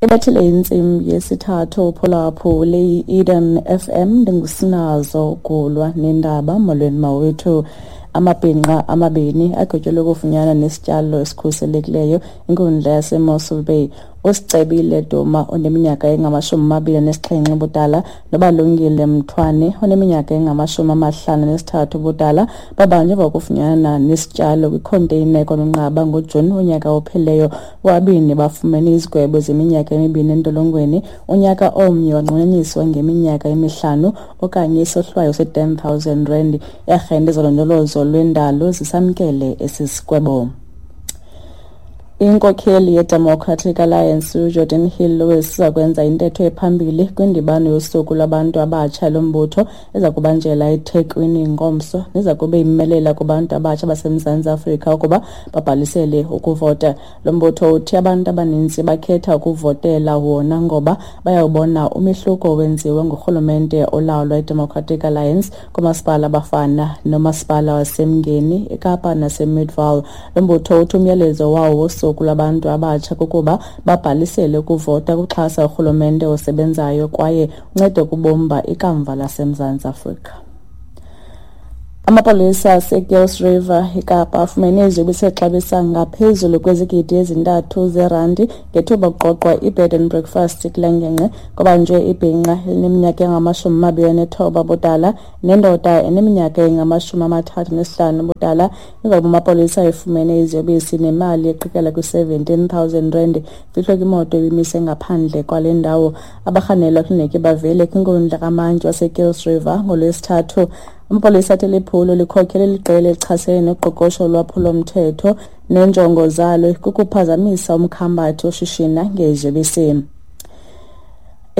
Ibethile intsimbi yesithathu uphulaphule i-Eden FM, ndingusinazo ugulwa nendaba. Molweni mawethu. Amabhinqa amabini agwetyelwe ukufunyanwa nesityalo esikhuselekileyo inkundla yaseMossel Bay. USicebile Duma oneminyaka engama-27 ubudala noBalungile Mthwane oneminyaka engama-53 ubudala babanjwe emva kokufunyanwa nesityalo kwikhonteyina ekwaNonqaba ngoJuni wonyaka ophelileyo. Bobabini bafumene izigwebo zeminyaka emibini entolongweni, unyaka omnye wanqunyanyiswa ngeminyaka emihlanu okanye isohlwayo se-10 000 rand. Iiarhente zolondolozo lwendalo zisamkele esi sigwebo. Inkokheli yeDemocratic Alliance uGeordin Hill-Lewis iza kwenza intetho ephambili kwindibano yosuku lwabantu abatsha lombutho eza kubanjela eThekwini ngomso, neza kube imelela kubantu abatsha baseMzantsi Afrika ukuba babhalisele ukuvota. Lo mbutho uthi abantu abaninzi bakhetha ukuvotela wona ngoba bayawubona umehluko owenziwe ngurhulumente olawulwa iDemocratic Alliance koomasipala abafana nomasipala waseMngeni, eKapa naseMidvaal. Lo mbutho uthi umyalezo wawo wosuku lwabantu abatsha kukuba babhalisele ukuvota kuxhasa urhulumente osebenzayo kwaye uncede ukubumba ikamva laseMzantsi Afrika. Amapolisa aseKuils River eKapa afumene iziyobisi exabisa ngaphezulu kwezigidi ezintathu zeerandi ngethuba kuqoqwa i-bed and breakfast kule ngingqi. Kubanjwe ibhinqa elineminyaka engama-29 ubudala nendoda eneminyaka engama-35 ubudala emva kokuba amapolisa efumene iziyobisi nemali eqikela kwi-17 000 rand fihlwe kwimoto ebimise ngaphandle kwale ndawo. Abarhanelwa kufuneke bavele kwinkundla kamantyi waseKuils River ngoLwesithathu. Amapolisa athi liphulo likhokhele liqela elichasene noqoqosho lwaphulomthetho neenjongo zalo kukuphazamisa umkhambathi oshishina ngeziyobisi.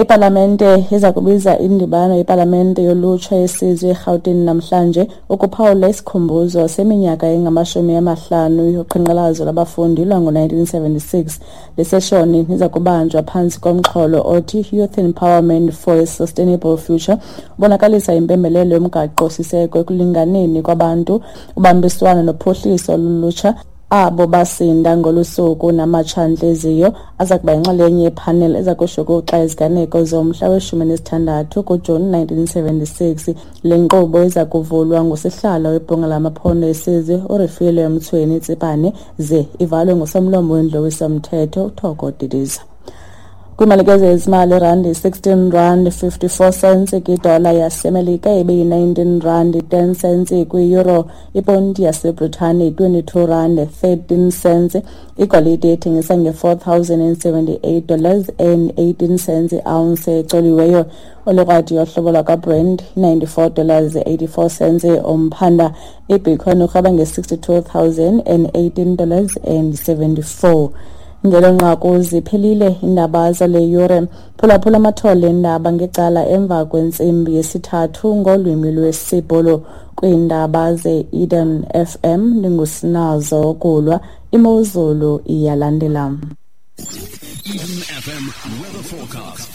Ipalamente iza kubiza indibano yepalamente yolutsha yesizwe eRhawutini namhlanje ukuphawula isikhumbuzo seminyaka engama-50 yoqhankqalazo lwabafundi lwango-1976. Le seshoni iza kubanjwa phantsi komxholo othi Youth Empowerment for a Sustainable Future, ubonakalisa impembelelo yomgaqo-siseko ekulinganeni kwabantu, ubambiswano nophuhliso lolutsha. Abo basinda ngolu suku namatshantliziyo aza kuba yinxalenye yephaneli eza kushukuxa iziganeko zomhla we-16 kuJuni 1976. Le nkqubo iza kuvulwa ngusihlalo webhunga lamaphondo esizwe uRefilwe Mtsweni Tsipane ze ivalwe ngusomlomo wendlu yowiso-mthetho uThoko Didiza. Kwimalike zezimali, irandi 16 rand 54 cents kwidola yaseMelika, ibeyi-19 rand 10 cents kwi-euro, iponti yaseBritane 22 rand 13 cents. Igolide ethengisa nge-$4,078 dollars and 18 cents i-ounce ecoliweyo. Olikrwadi yohlobo lwakwaBrent 94 dollars 84 cents umphanda. Ibitcoin urhweba nge-$62,018 dollars and 74. Ngelo nqaku ziphelile iindaba zale yure. Phulaphula amathole eendaba ngecala emva kwentsimbi yesithathu ngolwimi lwesiBhulu. Kwiindaba ze-Eden FM ndingusinazo Kulwa. Imozulu iyalandela. Eden FM weather forecast.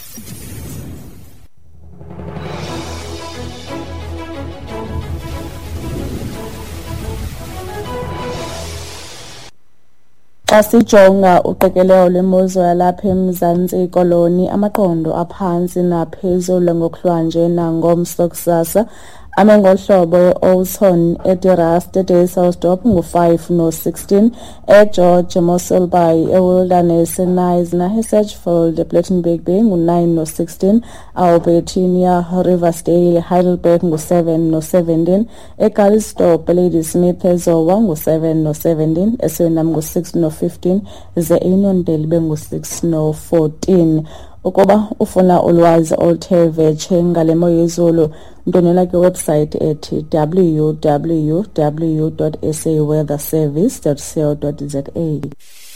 Xa sijonga uqikelelo lwemozulu yalapha eMzantsi Koloni, amaqondo aphantsi naphezulu ngokuhlwanje nangomso kusasa ame ngohlobo: e-Oudtshoorn, eDe-Rust, eDysselsdorp ngu-5 no-16, eGeorge, eMossel Bay, eWilderness, eKnysna, eSedgefield, ePlettenberg Bay ngu-9 no-16, Albertinia, Riversdale, Heidelberg ngu-7 no-17, eCalitzdorp, eLadysmith, eZowa ngu-7 no-17, eSuriname ngu-6 no-15, ze eUniondale ibe ngu-6 no-14. Ukuba ufuna ulwazi oluthe vetshe ngale mo yezulu, ndwendwela kwiwebhusayithi ethi www.saweatherservice.co.za.